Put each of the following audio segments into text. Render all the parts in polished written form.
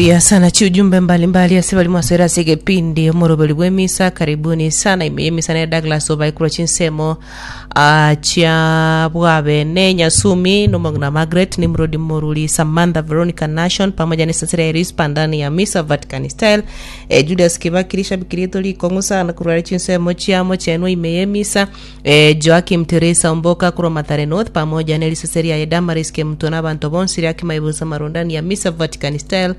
Mbuya sana chiujumbe mbalimbali ase bari mwasoera ase egepindi omoroberi bw'emisa karibuni sana ime y'emisa nere Douglas obae korwa chinsemo ah, chia bwabene Nyasumi nomong'ina Margaret Nimrod Moruri Samantha Veronica Nation pamoja na esasera ya Rispa ndani ya misa Vatican style eh, Julius Kibaki rishabiki rieto rikong'u sana korwa are chinsemo chia mochenwa ime y'emisa Eh, Joakim Teresa Omboka korwa Mathare North pamoja ne risase riaye Damaris Kemuto na abanto bonsi riake maibusa marondani ya Misa Vatican Style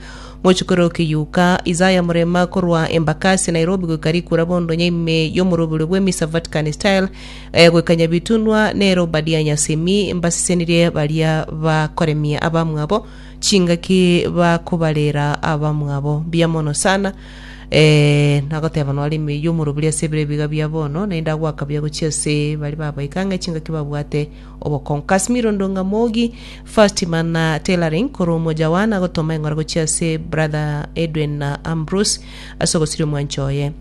mochokoro Kiyuka Isaiah Murema korwa Embakasi Nairobi goika rikura bondonya ime y'omoroberio bwe Misa Vatican Style eh, goika Nyabitunwa nere Obadia Nyasemi mbasesenirie baria bakoremia abamwabo chingaki bakobarera abamwabo mbuya mono sana Eh, nagoteba noare ime y'omorobori ase ebiro ebiga bia bono, naende agoaka buya gochia ase baria babaika ang'e chingaki babwate obokong'u. Casimiro Ndonga Mogi, First Mana Tailoring, korwa Umoja One agotoma eng'ora gochia ase brother Edwin na Ambrose ase ogosiria omwancho oye.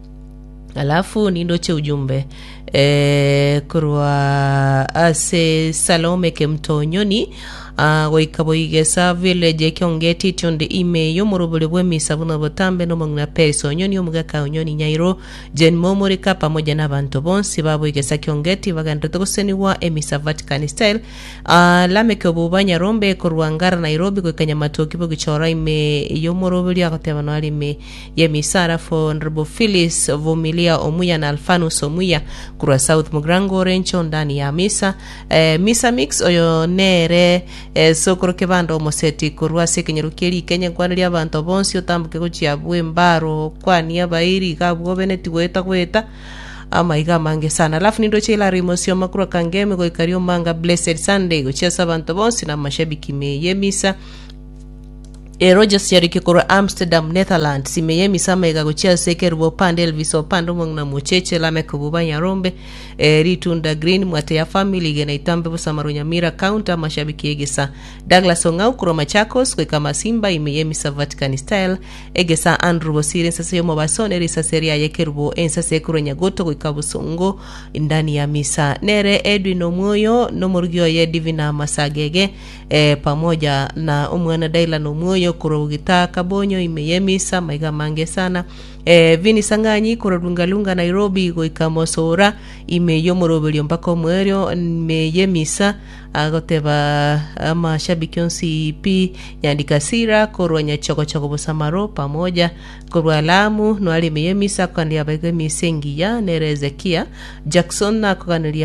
Alafu nindoche ujumbe eh, korwa ase Salome Kemtonyoni ah, goika Boigesa village ekiongeti etionde ime y'omorobori bw'emisa buna botambe nomong'ina Peris Onyoni omogaka Onyoni Nyairo Jane Momorika pamoja na abanto bonsi ba Boigesa Kiongeti bagenderete gosenigwa emisa Vatican style ah, Lameke Obuba Nyarombe korwa Ngara Nairobi goika Nyamatoki bogichora ime y'omorobori agoteba noare ime y'emisara for Honourable Phyllis Vumilia Omuya na Alphanus Omuya korwa South Mugirango Orencho ndani ya Misa eh, Misa Mix oyo nere eh, sokoro kebanda omoseti korwa ase ekenyoro kie rikenye nkwaneria abanto bonsi otamboke gochia abwo embaro okwanie abairi iga abwo obeneti goeta goeta amaiga amange sana alafu nindoche Hilary Mosioma korwa Kangemi goika Riomanga Blessed Sunday gochia ase abanto bonsi na amashabiki me y'emisa Rogers Chariki korwa Amsterdam, Netherlands, ime y'emisa amaiga gochia ase Kerubo Opande, Elvis Opande, omong'ina Mocheche, Lameck Obuba Nyarombe, eh, Ritunda Green, Mwateya Family, Igena Itambe, Bosamaro Nyamira County, amashabiki y'egesa. Douglas Ong'au korwa Machakos, goika Masimba, ime y'emisa Vatican Style, egesa Andrew Bosire ensase y'omobaso ne risase riaye Kerubo ensase korwa Nyagoto goika Bosongo, ndani ya misa. Nere Edwin Omwoyo nomorugi oye Divina Masagege, eh, pamoja na omwana Dylan Omwoyo korwa Bogita Kabonyo ime y'emisa amaiga amange sana eh, Vini Sang'anyi korwa Lungalunga Nairobi goika Mosora ime y'omoroberio mpaka omoerio ime y'emisa agoteba amashabiki onsi pi Nyandika Sira korwa Nyachogochogo Bosamaro pamoja korwa Lamu noare ime y'emisa akoganeria abaiga emisa engiya nere Hezekia Jackson nakoganeria.